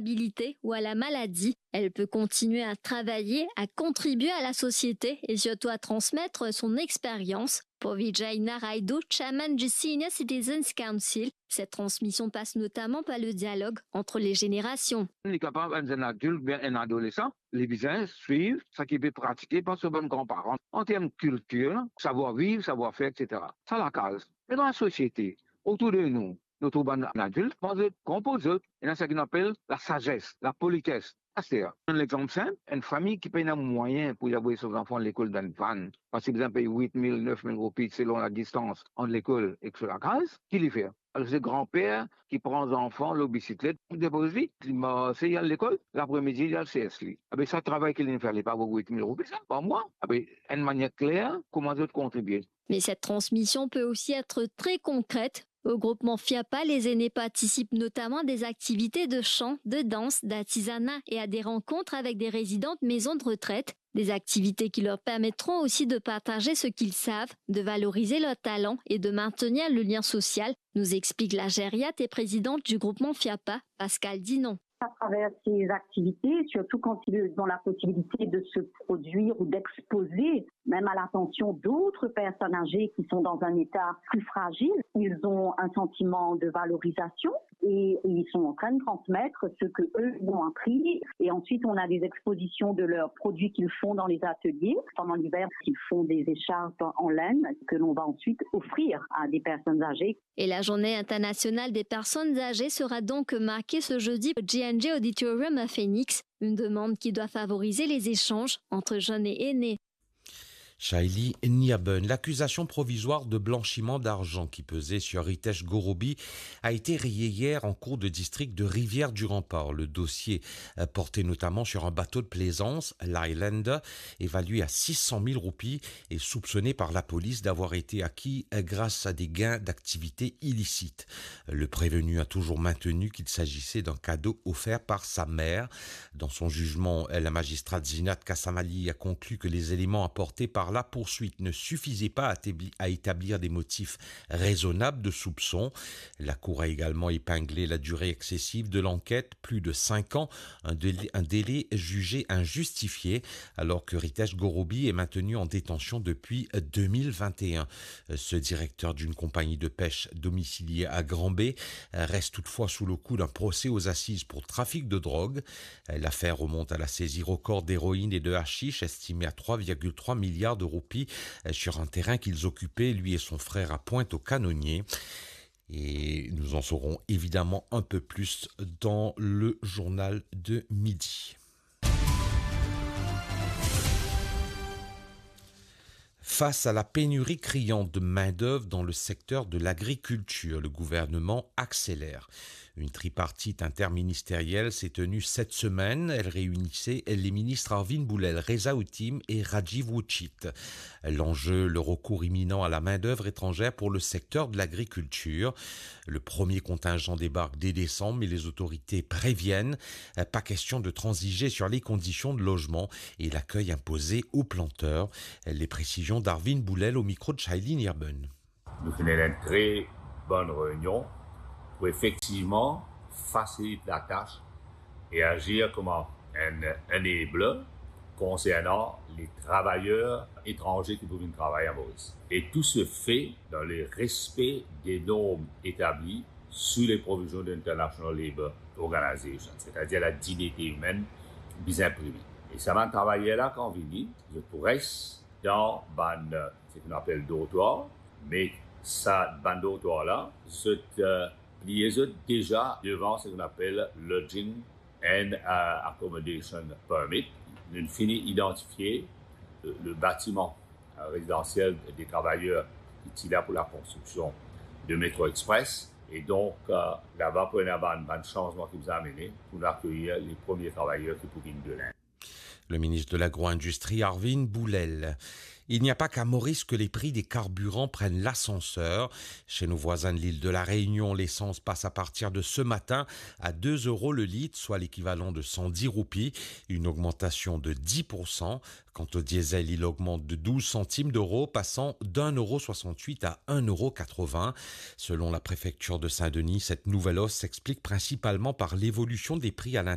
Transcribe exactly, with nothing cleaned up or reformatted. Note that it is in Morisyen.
vulnérabilité ou à la maladie, elle peut continuer à travailler, à contribuer à la société et surtout à transmettre son expérience. Pour Vijay Naraidu, chairman du Senior Citizens Council, cette transmission passe notamment par le dialogue entre les générations. Li kapav enn zenn adilt oubien enn adolesan, li bizin swiv sa ki pe pratike par so bann granparan an term kiltir, savwar-viv, savwar-fer, et cetera. Sa lakaz. Me dan lasosiete, otour de nou, nou trouv bann adilt, kan zot konpoz zot, ena seki nou apel lasazes, lapolites. Aster, enn lexanp sinp, enn fami ki pena mwayin pou li avoy so zanfan lekol dan enn vann, parski bizin pey wit mil, nef mil roupi selon ladistans ant lekol ek so lakaz, ki li fer? Alor se granper ki pran zanfan lor bisiklet, li depoz li, li marse, li al lekol, lapremidi li al sers li. Abe sa travay ki li fer, li pa vo wit mil roupi sa par mwa? Abe enn manier kler kouma zot kontribie. Mais cette transmission peut aussi être très concrète. Au groupement Fiapa, les aînés participent notamment à des activités de chant, de danse, d'artisanat et à des rencontres avec des résidents de maisons de retraite. Des activités qui leur permettront aussi de partager ce qu'ils savent, de valoriser leurs talents et de maintenir le lien social, nous explique la gériate et présidente du groupement Fiapa, Pascale Dinon. À travers ces activités, surtout quand ils ont la possibilité de se produire ou d'exposer, même à l'attention d'autres personnes âgées qui sont dans un état plus fragile, ils ont un sentiment de valorisation et ils sont en train de transmettre ce que eux ont appris. Et ensuite, on a des expositions de leurs produits qu'ils font dans les ateliers. Pendant l'hiver, ils font des écharpes en laine que l'on va ensuite offrir à des personnes âgées. Et la journée internationale des personnes âgées sera donc marquée ce jeudi au G N G Auditorium à Phoenix, une demande qui doit favoriser les échanges entre jeunes et aînés. Shaili Niaben, l'accusation provisoire de blanchiment d'argent qui pesait sur Ritesh Gorobi a été rayée hier en cour de district de Rivière-du-Rempart. Le dossier, euh, portait notamment sur un bateau de plaisance, l'Highlander, évalué à six cent mille roupies et soupçonné par la police d'avoir été acquis, euh, grâce à des gains d'activités illicites. Le prévenu a toujours maintenu qu'il s'agissait d'un cadeau offert par sa mère. Dans son jugement, la magistrate Zeenat Kasamali a conclu que les éléments apportés par la poursuite ne suffisaient pas à établi-, à établir des motifs raisonnables de soupçon. La Cour a également épinglé la durée excessive de l'enquête, plus de cinq ans, un délai, un délai jugé injustifié, alors que Ritesh Gorobi est maintenu en détention depuis deux mille vingt et un. Ce directeur d'une compagnie de pêche domiciliée à Grand-Baie reste toutefois sous le coup d'un procès aux assises pour trafic de drogue. L'affaire remonte à la saisie record d'héroïne et de hashish estimé à trois virgule trois milliards de roupies sur un terrain qu'ils occupaient, lui et son frère, à Pointe-aux-Canoniers. Et nous en saurons évidemment un peu plus dans le journal de midi. Face à la pénurie criante de main-d'œuvre dans le secteur de l'agriculture, le gouvernement accélère. Une tripartite interministérielle s'est tenue cette semaine. Elle réunissait les ministres Arvind Boulel, Reza Ottam et Rajiv Uchit. L'enjeu, le recours imminent à la main-d'œuvre étrangère pour le secteur de l'agriculture. Le premier contingent débarque dès décembre, mais les autorités préviennent, euh, pas question de transiger sur les conditions de logement et l'accueil imposé aux planteurs. Les précisions d'Arvind Boulel au micro de Shaili Nirben. Nou finn ena enn tre bonn reynion pou efektivman fasilit latas e azir kouma enn enable konsernan le travayer etranze ki pou vinn travay a Moris. E tou se fe dan le respe de norm etabli sou le provizion de International Labour Organization, setadir la dignite imenn bizin prime. E sa bann travayer la, kan vini, zot pou res dan bann, seki nou apel dortwar, me sa bann dortwar la, zot, eh, pliye zot deza devan seki nou apel lodging and, eh, accommodation permit. Nou fini idantifie le, le batiman, eh, rezidansiel de travayer ki ti la pou lakonstriksion de Metro Express. E donk, eh, laba pou ena bann, bann sanzman ki bizin amene pou nou akeyir le premie travayer ki pou vinn de Linde. Le ministre de l'Agro-Industrie, Arvin Boulel. Il n'y a pas qu'à Maurice que les prix des carburants prennent l'ascenseur. Chez nos voisins de l'île de la Réunion, l'essence passe à partir de ce matin à deux euros le litre, soit l'équivalent de cent dix roupies, une augmentation de dix pour cent. Quant au diesel, il augmente de douze centimes d'euros, passant d'un euro soixante-huit à un euro quatre-vingts. Selon la préfecture de Saint-Denis, cette nouvelle hausse s'explique principalement par l'évolution des prix à l'intérieur